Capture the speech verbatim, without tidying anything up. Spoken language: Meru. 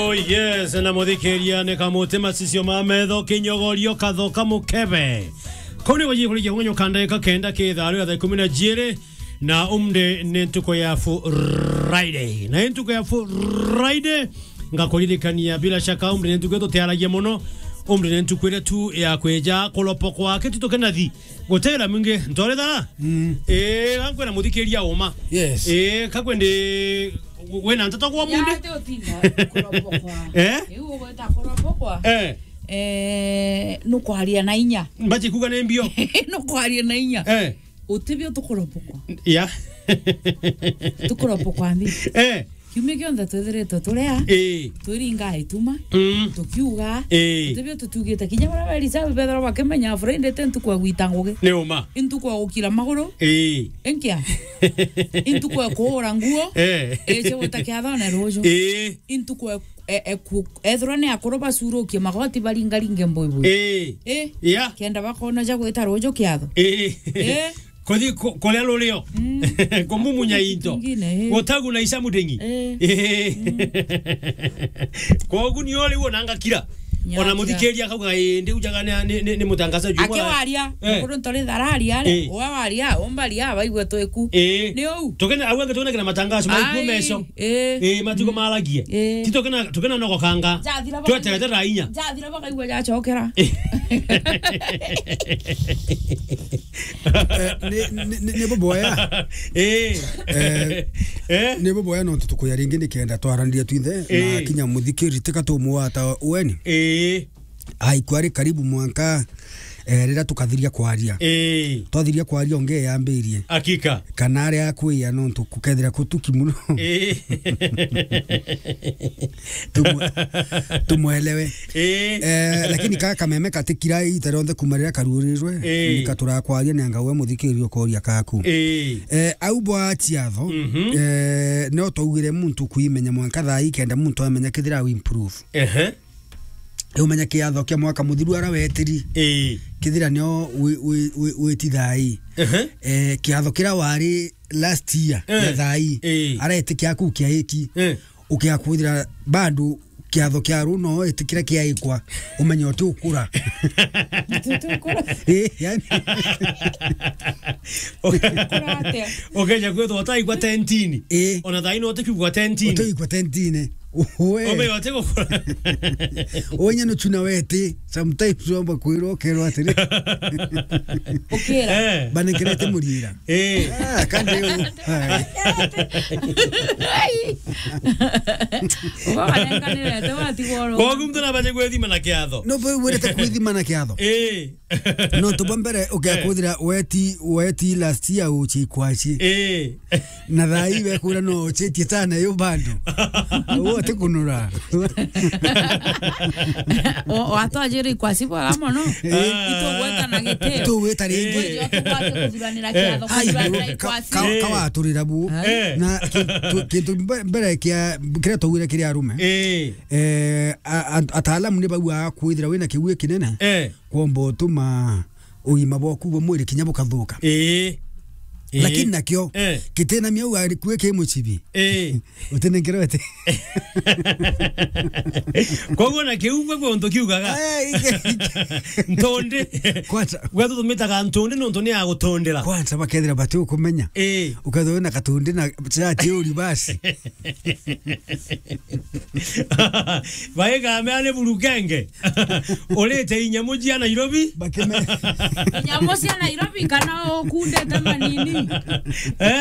Oh yes, na muthikiria ni kamuti macicio ma metho, kinyogorio kathoka mukebe. Kau ni gujikurikia kunyo kanda ika kenda ki thaa ria thaa ikumi na jiiri, na umri ni ntuku ya Friday. Na ntuku ya Friday, ngakuririkania bila shaka umri ni ntuku tutiaragia muno. Umri ni ntuku iria tu ya kwija kuropokwa kitutu kinathi. Gutera mwingi, ntore thara? Mm. Eh, gankwira muthikiria uma. Yes. Eh, kakwendi wina nteto kwa munde? Ate utinda kuropokwa. Eh? Iu ugweta kuropokwa. Eh. Eh, nukwaria na inya. Mbaji kuga ni mbio. Nukwaria na inya. Eh. Utibio tukuropokwa. Ya. Tukuropokwa mbi. Eh. Kiumia kionthe twithiritwe turia, ii, twiringa ituma, mm, tukiuga, ii, tibio tutiugite. Kinya baria beri sabu bethirwa bakimenya Friday ti ntuku ya gwita ngugi. Ni uma. I ntuku ya gukira maguru. Ii. Inkia? I ntuku ya kuura nguo. Eh. Icio gwita kiathone ruju. Ii. I ntuku ya, e, e, ku-, ethirwa ni akuru bacurukie magoti baringaringe mbuibui. Ii. Ii. Yeah. Kenda bakona ja gwita ruju kiatho. Ii. Ii. Kuthi ku-, kuria rurio. Mm. Kumumunya into. Kingine, eh. Gutaguna ica mudingi. Eh. Eh. Mm. Kogu ni uri wona ngakira. Nyakira. Ona muthikiria akauga, "Eh, ndi ujaga ni, ni, ni, ni mutangazaji umwe." Akiwaria, eh, mukuru ntore thararia ri, eh, uwe waria, umbaria, baigue twiku. Eh. Ni uu. Tukene, au ange tukene kina matangazo, maiku meso. Eh. Eh, matugo maragie. Eh. Ti tukena, tukena no gukanga. Jathira baka-, tweterete thaa inya. Jathira bakaigua jacokera. Eh. Eh, ni, ni, ni, ni buboya. Eh. Eh, eh? Ni buboya no tutukuya ringi nikenda twaraniria twinthe, eh, na kinya muthikiri tika tumwata weni. Eh. Aikwa ari karibu mwanka, eh, riria tukathiria kwaria. Eh. Twathiria kwaria onge yambirie. Hakika. Kana aria akwia nontu kukethira kutuki muno. Eh. Tumwe-, tumwelewe. Eh. Eh, lakini ka kameme katikira ita rionthe kuma riria karuurirwe, eh, nikaturakwaria ni anga we muthikiriria ukoria kaku. Eh. Eh, au bwa ciatho, mhm, eh, no twaugire muntu kwimenya mwanka thaa ii kenda muntu amenya kethira au improve. Ehe. Umenya kiatho kia mwaka muthiru ara wetiri. Eh. Kethira nio wi-, wi-, wi-, witi thaa ii. Ehe. Eh, kiatho kiria wari last year, eh, ya thaa ii, eh, aretikia aku kiaiki. Eh. Ukia kwithira bado kiatho kia ru no eti kiria kiaikwa, umenye uti ukura. Uti ukura. Eh, yani. Ukura atia? Ukeja kwithwa utaikwa tentini. Eh. Ona thaa ino utikiugwa tentini. Utaikwa tentini. Uwe. Umenye uti gukura. Onye no chuna weti, sometimes wamba kwirwo ukerwo atiri. Ukira. Eh. Bana nkerete murira. Eh. Ah, kandi u-, ai. Ai. Uga wanenganirete watigwo ru. Kogu muntu nabaje gwithima na kiatho. No, bo wirete kwithima na kiatho. Eh. No, tu bwa mbere, ukia, eh, kwithira weti, weti last year uchi kwaci. Eh. Na thaa ii bekwira no uchitie sana yo bado. Uo ti kunura. O, watwajiri ikwasi bwega mono. Eh. Itugweta na gitio. Itugweta ringi. Eh. Kwithirwa tubwate kuthuranira, eh, kiatho, ai, kuthuranira ka-, ikwasi. Ka-, eh, kawaturira bu. Eh. Na kintu, kintu mbe-, mbere kia, kiria twawire kiri arume. Eh. Eh, a-, a-, ataalamu ni bauga kwithira wina kiugi kinene. Eh. Kwomba utuma ugima bwaku bwa mwiri kinya bukathuka. Ii. Ii. Lakini nakio, eh, kitina miau ari kue ki mucibi. Ii. Utinengerete. Koguo na kiu gwe untu kiugaga. Eh, ike, ike. Ntundi. Kwanza. Gwe tutumitaga ntundi nontu ni ya gutundira. Kwanza bakethira bati ukumenya. Ii. Ukethira wina katundi na chati uri basi. Baiga mea ni burukenge. Urite inyamu cia Nairobi? Bakime- Inyamu cia Nairobi kana ukundite manini? Eh?